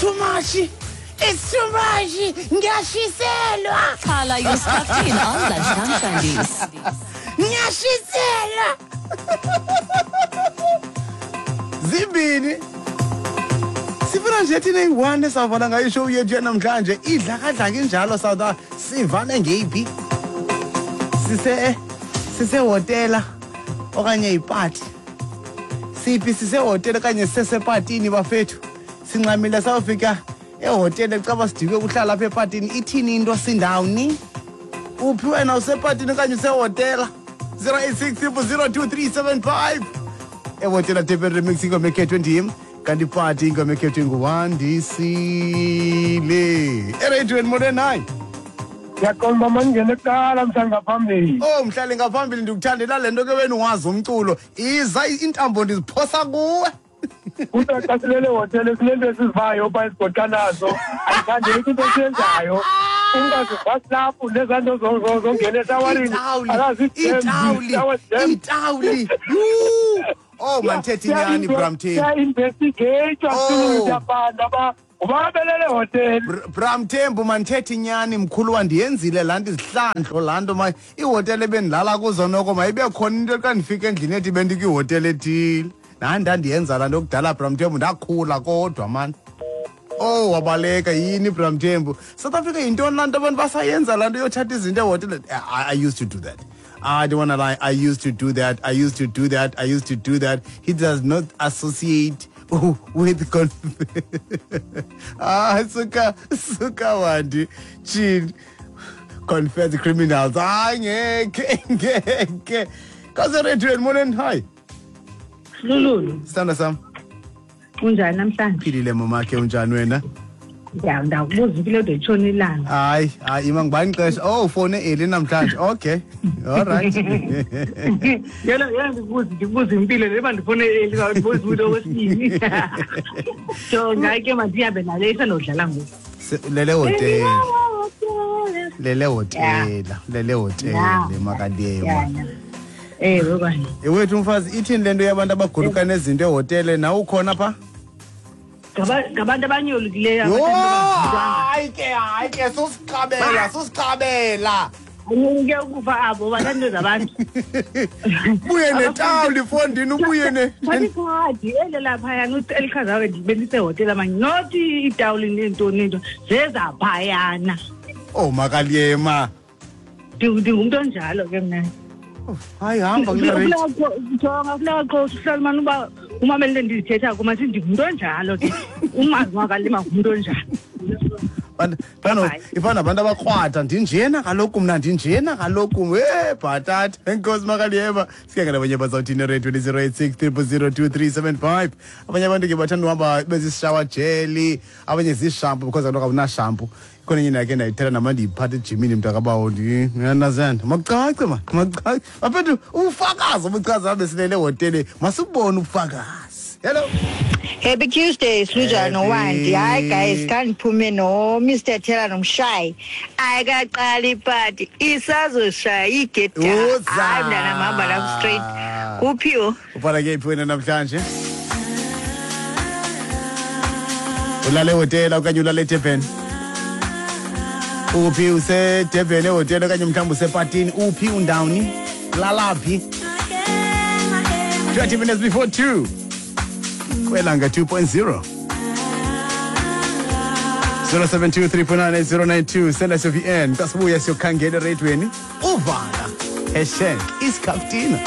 Too much. It's too much. Ngiyashiselwa. Carla, you're stuffed in on Lunchtime Sundays. Ngiyashiselwa. Zimbini. Sifuna nje thina iyi-one esavala ngayo ishow yethu yanamhlanje idlakadlaka injalo South sivane ngeyiphi sise sisehotela okanye ipati siphi sisehotela okanye sisesepatini bafethu sincamile sawufika ehotele caba sidikwe kuhlala apha epatini ithini into sindawuni uphi wena usepatini okanye usehotela 086 02375 ehotela Durban Remix ingoma ekhethwe ndim kanti ipati ingoma ekhethwe nguwandisile ereyidweni molweni. Hayi. Ndiyaqonda uba mandingene kuqala mhlali ngaphambili. Oh mhlali ngaphambili, ndikuthandela le nto ke wena wazi umculo. Iza intambo ndiziphosa kuwe. Kuthiwa xa silele hotele sinento esizivayo uba esigoqa nazo ayithandeki into esiyenzayo. Umntu aziva silaphu nezaa nto zongena eshawarini. Itawuli, itawuli. Oh mandithethe inyani Bramthembu. Siya-investigeyithwa. Oh. Siyapanda uba ubabelele hotele. Bramthembu, mandithethe inyani mkhulu, wandiyenzile laa nto izihlandlo laa nto ma iihotele ebendilala kuzo noko mayibe khona into xa ndifika endlini ethi bendikwihotele ethile. Nani ndandiyenza laa nto kudala Bramthembu, ndakhula kodwa mani. Oh wabaleka yini Bramthembu. South Africa yintoni laa nto abantu basayenza laa nto yothatha izinto ehotele? I used to do that. I don't wanna lie. I used to do that. I used to do that. I used to do that. He does not associate with ah suka suka wandi chin confess criminals. Hayi ngeke ngeke. Kaze radio morning, hi. Lululu. Sithanda sam. Unjani namhlanje? Philile mamakhe, unjani wena? Ya, ndakubuza impilo yodwa itshona ilanga. Hayi hayi ima ngubani ixesha? Oh ufone early namhlanje. Okay. All right. Yena yena ndikubuza impilo leba ndifone early ndibuza umuntu okwesibini. So ngake mandihambe nale isanodlala ngoku. Lele hotela. Lele hotela. Lele hotela makaliyema. Ewe kwani. Ewethu umfazi ithini lento yabantu abaguluka nezinto ehotele nawe ukhona pha? Ngabantu abanyolukileyo. Yho, hayi ke hayi ke susiqabela susiqabela. Anyoluke ukufa abo bathanda zabantu. Ubuye netawuli fondini ubuye ne. Ikhadi ele laphayana elichazayo bendisehotela manje not itawuli nento nento zezaphayana. Oh makaliyema. Ndingumntu onjalo ke mna. Hayi hamba kule rate. Jonga funeka qho uhlala mani uba umamele ndizithetha kuma sithi ndingumntu onjalo ke. Umazi makalima ngumntu onjalo. Bano ifana nabantu abakrwada ndinjena kaloku mna ndinjena kaloku bhatata. Enkosi makaliyema. Sike nabanye bazawuthini radio 086 0002375. Abanye abantu ke bathanda uhamba bezishower jelly, abanye zishampoo because kaloku awuna shampoo. Khona enye ndakhe ndayithetha nama ndiyiphatha ejimini mntakabawo ndiyandazana. Makucace ma, makucace. Bafethu ubufakazi obuchaza abe silele ehotele masibone ubufakazi. Hello. Happy Tuesday, Sluja noWandi. Hayi guys, khandiphume no Mr Taylor nomshayi. Ayikaqali ipati, isazoshaya igeda. Hayi mntana hamba lapho straight. Kuphiwo? Ubhala ke phi wena namhlanje? Ulale ehotela okanye ulale eDurban? Uphi useDurban ehotela okanye mhlawumbi usepatini? Uphi undawuni? Lalaphi? 20 minutes before 2. Kwelanga 2.0. 072 send us your VN. Kasibuya siyokhangela eradweni. Uvala. Hashtag isikaftina.